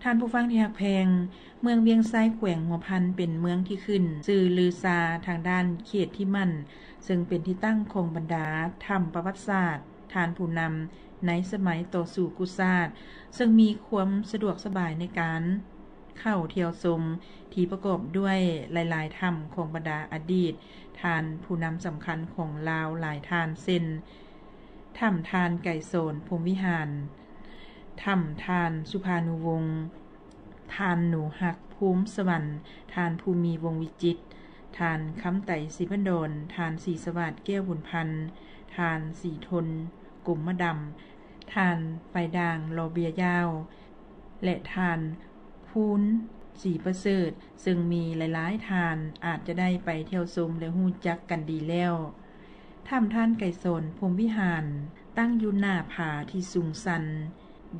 ທ່ານຜູ້ຟັງທີ່ຮັກແພງ, ເມືອງວຽງໄຊ ແຂວງຫົວພັນ ເປັນເມືອງທີ່ຂຶ້ນຊື່ລືຊາທາງດ້ານເຂດທິໝັ້ນ ເຊິ່ງເປັນທີ່ຕັ້ງຂອງບັນດາຖ້ຳປະຫວັດສາດ ທ່ານຜູ້ນຳໃນສະໄໝຕໍ່ສູ້ກູ້ຊາດ ເຊິ່ງມີຄວາມສະດວກສະບາຍໃນການເຂົ້າທ່ຽວຊົມ ທີ່ປະກອບດ້ວຍຫຼາຍໆຖ້ຳຂອງບັນດາອະດີດທ່ານຜູ້ນຳສຳຄັນຂອງລາວຫຼາຍທ່ານ ເຊັ່ນ ຖ້ຳທ່ານໄກສອນ ພົມວິຫານ, ຖ້ຳທ່ານສຸພານຸວົງ, ທ່ານໜູຮັກ ພູມສະຫວັນ, ທ່ານພູມີ ວົງວິຈິດ, ທ່ານຄຳໄຕ ສີພັນດອນ, ທ່ານສີສະຫວາດ ແກ້ວບຸນພັນ, ທ່ານສີທົນ ກົມມະດຳ, ທ່ານໄຟດ່າງ ລໍເບຍຢາວ ແລະ ທ່ານພູນ ສີປະເສີດ, ເຊິ່ງມີຫຼາຍໆທ່ານອາດຈະໄດ້ໄປທ່ຽວຊົມ ແລະ ຮູ້ຈັກກັນດີແລ້ວ. ຖ້ຳທ່ານໄກສອນ ພົມວິຫານ ຕັ້ງຢູ່ໜ້າຜາທີ່ສູງຊັນ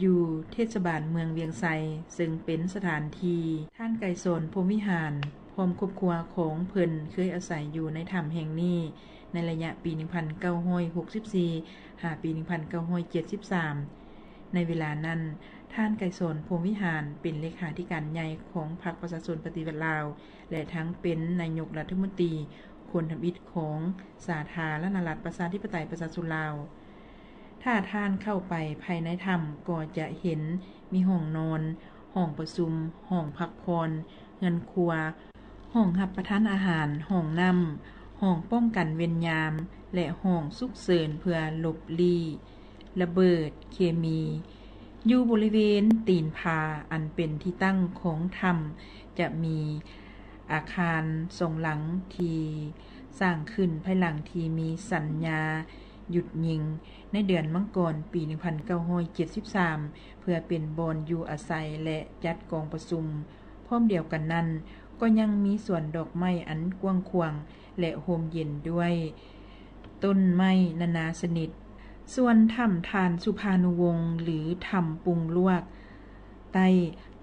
ຢູ່ເທດສະບານເມືອງວຽງໄຊ ເຊິ່ງເປັນສະຖານທີ່ທ່ານໄກສອນ ພົມວິຫານ ພ້ອມຄອບຄົວຂອງເພິ່ນເຄີຍອາໄສຢູ່ໃນຖ້ຳແຫ່ງນີ້ ໃນໄລຍະປີໜຶ່ງພັນເກົ້າຮ້ອຍຫົກສິບສີ່ ຫາປີໜຶ່ງພັນເກົ້າຮ້ອຍເຈັດສິບສາມ. ໃນເວລານັ້ນ, ທ່ານໄກສອນ ພົມວິຫານ ເປັນເລຂາທິການໃຫຍ່ຂອງພັກປະຊາຊົນປະຕິວັດລາວ ແລະ ທັງເປັນນາຍົກລັດຖະມົນຕີຄົນທຳອິດຂອງສາທາລະນະລັດ ປະຊາທິປະໄຕ ປະຊາຊົນລາວ. ຖ້າທ່ານເຂົ້າໄປພາຍໃນຖ້ຳ ກໍຈະເຫັນມີຫ້ອງນອນ, ຫ້ອງປະຊຸມ, ຫ້ອງພັກຜ່ອນ, ເຮືອນຄົວ, ຫ້ອງຮັບປະທານອາຫານ, ຫ້ອງນ້ຳ, ຫ້ອງປ້ອງກັນເວນຍາມ ແລະ ຫ້ອງສຸກເສີນເພື່ອຫຼົບຫຼີ້ລະເບີດເຄມີ. ຢູ່ບໍລິເວນຕີນຜາອັນເປັນທີ່ຕັ້ງຂອງຖ້ຳ ຈະມີອາຄານສອງຫຼັງທີ່ສ້າງຂຶ້ນພາຍຫຼັງທີ່ມີສັນຍາຢຸດຍິງໃນເດືອນມັງກອນປີໜຶ່ງພັນເກົ້າຮ້ອຍເຈັດສິບສາມ ເພື່ອເປັນບ່ອນຢູ່ອາໄສ ແລະ ຈັດກອງປະຊຸມ. ພ້ອມດຽວກັນນັ້ນ, ກໍຍັງມີສວນດອກໄມ້ອັນກວ້າງຂວາງ ແລະ ຮົ່ມເຢັນດ້ວຍຕົ້ນໄມ້ນານາຊະນິດ. ສ່ວນຖ້ຳທ່ານສຸພານຸວົງ ຫຼື ຖ້ຳປຸງລວກໃຕ້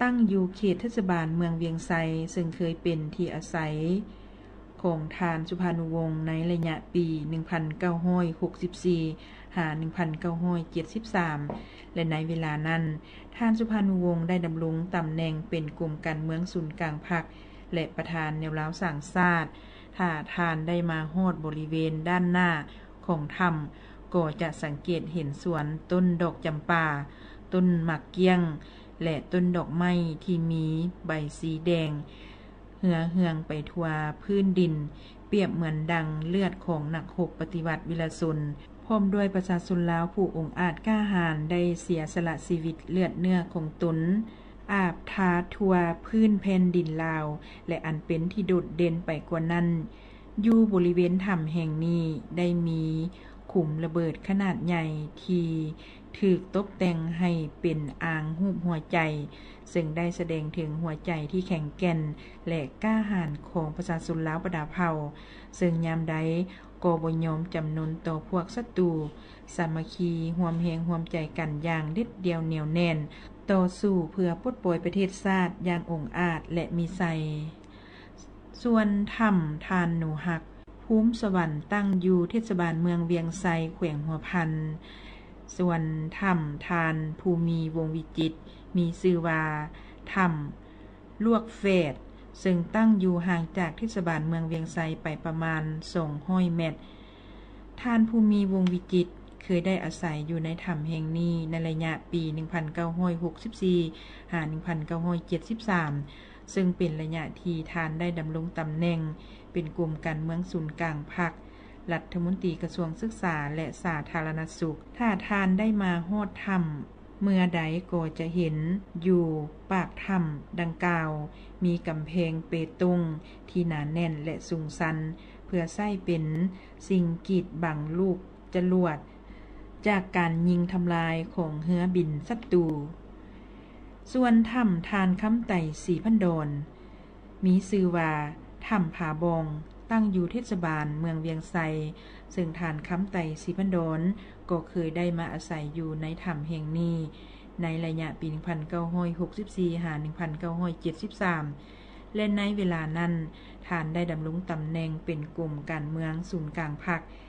ຕັ້ງຢູ່ເຂດເທດສະບານເມືອງວຽງໄຊ, ເຊິ່ງເຄີຍເປັນທີ່ອາໄສຂອງທ່ານສຸພານຸວົງໃນໄລຍະປີໜຶ່ງພັນເກົ້າຮ້ອຍຫົກສິບສີ່ ຫາ ໜຶ່ງພັນເກົ້າຮ້ອຍເຈັດສິບສາມ ແລະ ໃນເວລານັ້ນ ທ່ານສຸພານຸວົງໄດ້ດຳລົງຕຳແໜ່ງເປັນກົມການເມືອງສູນກາງພັກ ແລະ ປະທານແນວລາວສ້າງຊາດ. ຖ້າທ່ານໄດ້ມາຮອດບໍລິເວນດ້ານໜ້າຂອງຖ້ຳ ກໍຈະສັງເກດເຫັນສວນຕົ້ນດອກຈຳປາ, ຕົ້ນໝາກກ້ຽງ ແລະ ຕົ້ນດອກໄມ້ທີ່ມີໃບສີແດງ ເຮືອເຮືອງໄປທົ່ວພື້ນດິນ, ປຽບເໝືອນດັ່ງເລືອດຂອງນັກຮົບປະຕິວັດວິລະຊົນ, ພ້ອມດ້ວຍປະຊາຊົນລາວຜູ້ອົງອາດກ້າຫານ ໄດ້ເສຍສະຫຼະຊີວິດເລືອດເນື້ອຂອງຕົນ ອາບທາທົ່ວພື້ນແຜ່ນດິນລາວ, ແລະ ອັນເປັນທີ່ໂດດເດັ່ນໄປກວ່ານັ້ນ, ຢູ່ບໍລິເວນຖ້ຳແຫ່ງນີ້ໄດ້ມີຂຸມລະເບີດຂະໜາດໃຫຍ່ທີ່ຖືກຕົບແຕ່ງໃຫ້ເປັນອ່າງຮູບຫົວໃຈ, ເຊິ່ງໄດ້ສະແດງເຖິງຫົວໃຈທີ່ແຂງແກ່ນ ແລະ ກ້າຫານຂອງປະຊາຊົນລາວບັນດາເຜົ່າ, ເຊິ່ງຍາມໃດກໍບໍ່ຍອມຈຳນົນຕໍ່ພວກສັດຕູ, ສາມັກຄີຮ່ວມແຮງຮ່ວມໃຈກັນຢ່າງເດັດດ່ຽວໜຽວແໜ້ນ, ຕໍ່ສູ້ເພື່ອປົດປ່ອຍປະເທດຊາດຢ່າງອົງອາດ ແລະ ມີໄຊ. ສ່ວນຖ້ຳທ່ານໜູຮັກ ພູມສະຫວັນ ຕັ້ງຢູ່ເທດສະບານເມືອງວຽງໄຊ ແຂວງຫົວພັນ. ສ່ວນຖ້ຳທ່ານພູມີ ວົງວິຈິດ ມີຊື່ວ່າຖ້ຳລວກແຝດ ເຊິ່ງຕັ້ງຢູ່ຫ່າງຈາກເທດສະບານເມືອງວຽງໄຊໄປປະມານສອງຮ້ອຍແມັດ. ທ່ານພູມີ ວົງວິຈິດ ເຄີຍໄດ້ອາໄສຢູ່ໃນຖ້ຳແຫ່ງນີ້ໃນໄລຍະປີໜຶ່ງພັນເກົ້າຮ້ອຍຫົກສິບສີ່ ຫາ ໜຶ່ງພັນເກົ້າຮ້ອຍເຈັດສິບສາມ ເຊິ່ງເປັນໄລຍະທີ່ທ່ານໄດ້ດຳລົງຕຳແໜ່ງເປັນກົມການເມືອງສູນກາງພັກ, ລັດຖະມົນຕີກະຊວງສຶກສາ ແລະ ສາທາລະນະສຸກ. ຖ້າທ່ານໄດ້ມາຮອດຖ້ຳເມື່ອໃດກໍຈະເຫັນຢູ່ປາກຖ້ຳດັ່ງກ່າວ ມີກຳແພງເປຕົງທີ່ໜາແໜ້ນ ແລະ ສູງຊັນ ເພື່ອໃຊ້ເປັນສິ່ງກີດບັງລູກຈະຫຼວດຈາກການຍິງທຳລາຍຂອງເຮືອບິນສັດຕູ. ສ່ວນຖ້ຳທ່ານຄຳໄຕ ສີພັນດອນ ມີຊື່ວ່າຖ້ຳຜາບ່ອງ, ຕັ້ງຢູ່ເທດສະບານເມືອງວຽງໄຊ, ເຊິ່ງທ່ານຄຳໄຕ ສີພັນດອນ ກໍເຄີຍໄດ້ມາອາໄສຢູ່ໃນຖ້ຳແຫ່ງນີ້ໃນໄລຍະປີໜຶ່ງພັນເກົ້າຮ້ອຍຫົກສິບສີ່ ຫາ ໜຶ່ງພັນເກົ້າຮ້ອຍເຈັດສິບສາມ ແລະ ໃນເວລານັ້ນ ທ່ານໄດ້ດຳລົງຕຳແໜ່ງເປັນກົມການເມືອງສູນກາງພັກ